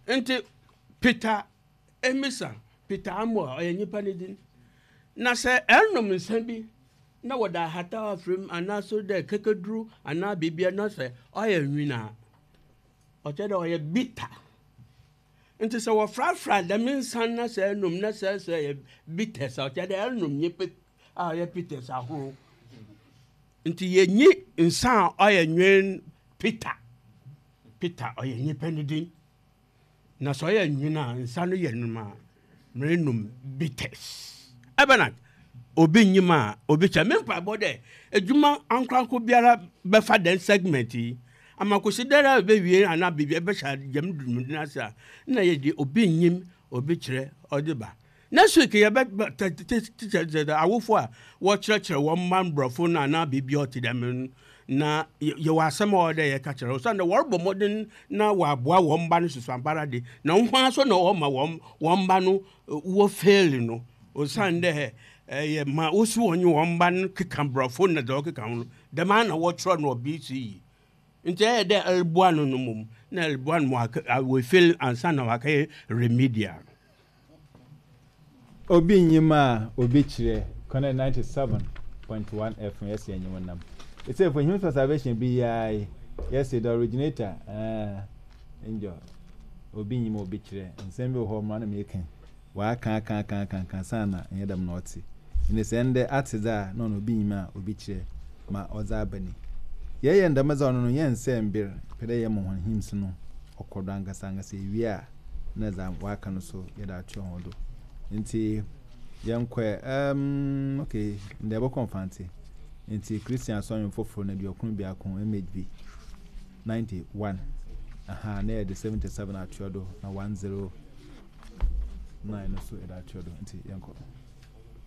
Ntsi Peter Emisa, Peter Amoah, ɔyɛ nyimpa ne dzin. Na sɛ ɛronom nsa bi na wɔdze ahataw afora mu anaa so dɛ kɛkɛdur anaa biribiara na sɛ ɔyɛ nwin a, ɔkyerɛ dɛ ɔyɛ bitter. Ntsi sɛ wɔforafora dɛm nsa no na sɛ enom na sɛ sɛ ɔyɛ bitters a, ɔkyerɛ dɛ eronom nyimpa a ɔyɛ bitters ahorow. Ntsi yennyi nsa a ɔyɛ nwin Peter. Peter ɔyɛ nyimpa ne dzin. Na sɛ ɔyɛ nwin a, nsa no yɛ nom a, merenom bitters. Ebɛnadze? Obi nnyim a obi kyɛ. Me mpaabɔ dɛ edwuma ankorankor biara bɛfa dɛm segment yi ama kosi dɛ ara ebewie anaa biribi ebɛhyɛ dɛm dwumadzi no ase a, nna yɛdze obi nnyim obi kyerɛ ɔdze ba. Next week yɛbɛba teacher awofo a wɔkyerɛkyerɛ wɔn mma mborɔfo no anaa biribi a ɔtse dɛm no na yɛwɔ asɛm a ɔwɔ dɛ yɛka kyerɛ osiandɛ wɔrobɔ mbɔdzen na wɔaboa wɔn mba no susuampara de na hɔn so na wɔma wɔn wɔn mba no wɔ fail no osiandɛ ɛyɛ ma wosi wɔnye wɔn mba no keka mborɔfo na dza ɔkeka ho no dɛm ara na wɔkyerɛ no wɔ BCE. Ntsi ɛyɛ dɛ eroboa no no mbom na eroboa no ma ɔafail ansaana ɔakɛyɛ remedial. Obi nnyim a obi kyerɛ Connect 97.1 FM yɛse yɛnye wo nam. Etsei for Hymns for Salvation bi yi ara yi yɛse the originator eh Angel obi nnyim a obi kyerɛ nsɛm bi wɔ hɔ mara na meka yi Ɔaka aka aka aka aka ansaana nnyɛ dɛm na ɔtse. Ntsi sɛ ndɛ atse dze a nna ɔno obi nyim a obi kyerɛ ma ɔdze aba ni. Yɛyɛ no dɛm dze a ɔno no yɛnnsɛɛ mber, yɛpɛ dɛ yɛma hɔn hymns no ɔkɔ do ankasa ankasa ewie a nna dza wɔaka no so yɛdze atoa hɔn do. Ntsi yɛnkɔ ɛ, erm okay ndɛ yɛbɔkɔ Mfantse. Ntsi Christian Asɔr Nwom Fofor no 21 MHB 91 aha na yɛdze 77 atoa do na 10 9 no so yɛdze atoa do ntsi yɛnkɔ.